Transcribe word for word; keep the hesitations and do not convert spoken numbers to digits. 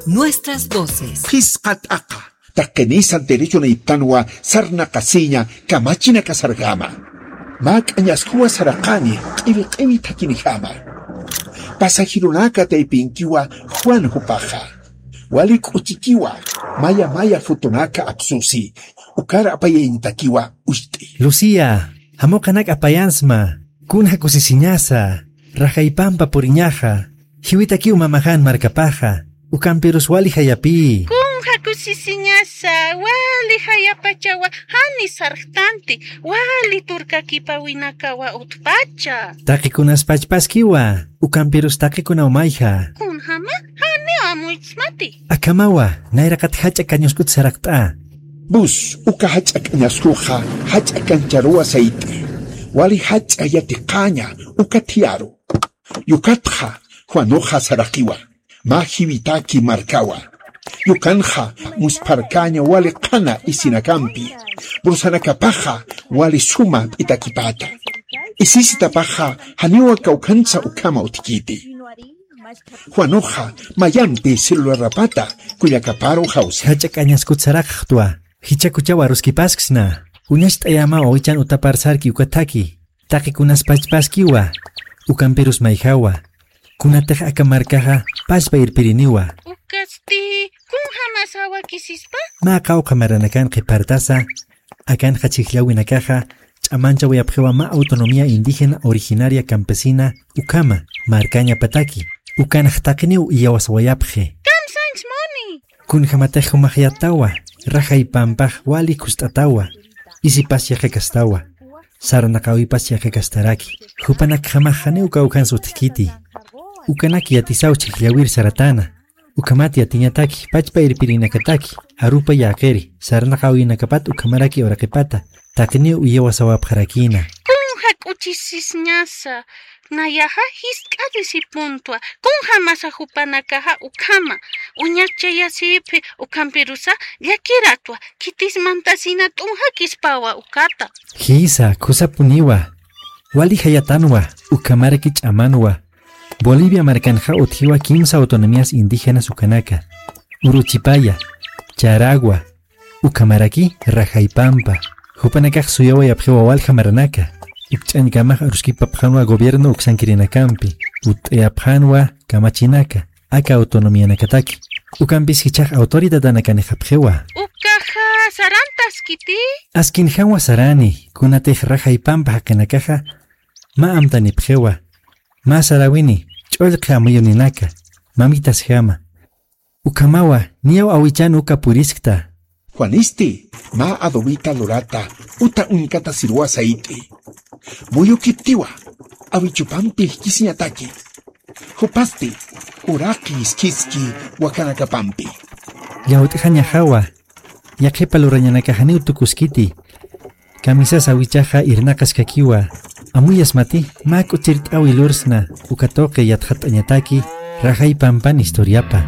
Nuestras voces. Phisqa t'aqa. Taqinisan derechonayptanwa sarnaqasiña kamachinakasarjama. Mä k'añaskuwa saraqani q'iwi q'iwi thakinjama. Pasajeronaka taypinkiwa Juan jupaxa. Wali k'uchikiwa maya maya fotonaka apsusi. Ukar apayañatakiwa ucht'i. Lucía, jamuqanak apayansma. Kunja kusisiñasa. Rajaypampa puriñaxa. Jiwitakiw mamaxan markapaxa. Ukampirus wali jayapï. Kunja kusisiñasa, wali jayapachawa, jani sarxtanti, wali turkakipawinakawa utpacha. Taqikunas pachpaskiwa, ukampirus taqikunaw mayja. Kunjama, janiw amuychismati. Akhamawa, nayraqat jach'a kañaskut saraqt'a. Bus, uka jach'a kañaskuxa, jach'a kancharuwa sayt'i. Wali jach'a yatiqaña, uka thiyaru. Yukatxa, Juanuxa saraqiwa, mä jiwitaki markawa. Yukanxa, muspharkaña wali qhana isinakampi. Brusanakapaxa, wali suma p'itakipata. Isisitapaxa, janiwa kawkhansa ukhama utjkiti. Juanuxa, mayampi celularapata, kullakaparu jawsa. Jach'a k'añaskut saraqxtwa, jichhakuchaw aruskipasksna. Uñacht'ayama wawichan utapar sarki ukathaki. Taqikunas pachpaskiwa, ukampirus mayjawa. Kunatix aka markaxa pachpa irpiriniwa. Ukasti, kunjamas jawakisispa? Mä qawqha maranakan qhipartasa, akanxa chhijllawinakaxa, ch'amanchawayapxiwa mä autonomía indígena originaria campesina ukhama, markañapataki, ukanx taqiniw iyawasawayapxi. Kamsanchmuni. Kunjamatix jumax yätawa, rajay pampax wali khust'atawa, isipas yaqhakastawa, sarnaqäwipas yaqhakastaraki, jupanakjamax janiw kawkhans utjkiti. Ukanak yatisaw chhijllawir saratäna, ukhamat yatiñataki, pachpa irpirinakataki, arupa yäqiri, sarnaqäwinakapat ukhamaraki uraqipata, taqiniw iyawasawapxarakïna. Kunja k'uchisisñasa, nayaxa jiskt'atisipuntwa, kunjamasa jupanakaxa ukhama, uñachayasipxi, ukhampirusa llakiratwa, khitis mantasina t'unjakispawa ukata. Jïsa, khusapuniwa, wali jayatanwa, ukhamaraki ch'amanwa. Bolivia markanxa utjiwa kimsa autonomías indígenas ukanaka, Uruchipaya, Charagua, ukhamaraki Rajaypampa. Jupanakax suyawayapxiwa walja maranaka. Ukch'añkamax aruskipapxänwa gobierno uksankirinakampi, utt'ayapxänwa kamachinaka, aka autonomianakataki. Ukampis jichhax autoridadanakanixapxiwa. Ukaxa sarantaskiti. Askinjamwa sarani, kunatix Rajaypampa jaqinakaxa mä amtanipxiwa. Mä saräwini, ch'ullqi amuyuninaka, mamitasjama. Ukhamawa, niyaw awichan uka puriskta. Juanisti, mä adobita lurata, uta uñkatasiruwa sayt'i. Muyukiptiwa, awichupampi jikisiñataki. Jupasti, uraqi iskhiski wakanakapampi. Llawt'jañaxawa, yaqhipa lurañanakax janiw tukuskiti. Kamisas awichaxa irnaqaskakiwa. Amuyasmati, mä k'uchirt'äwi lursna, uka tuqi yatxatt'añataki, Rajaypampan historiapa.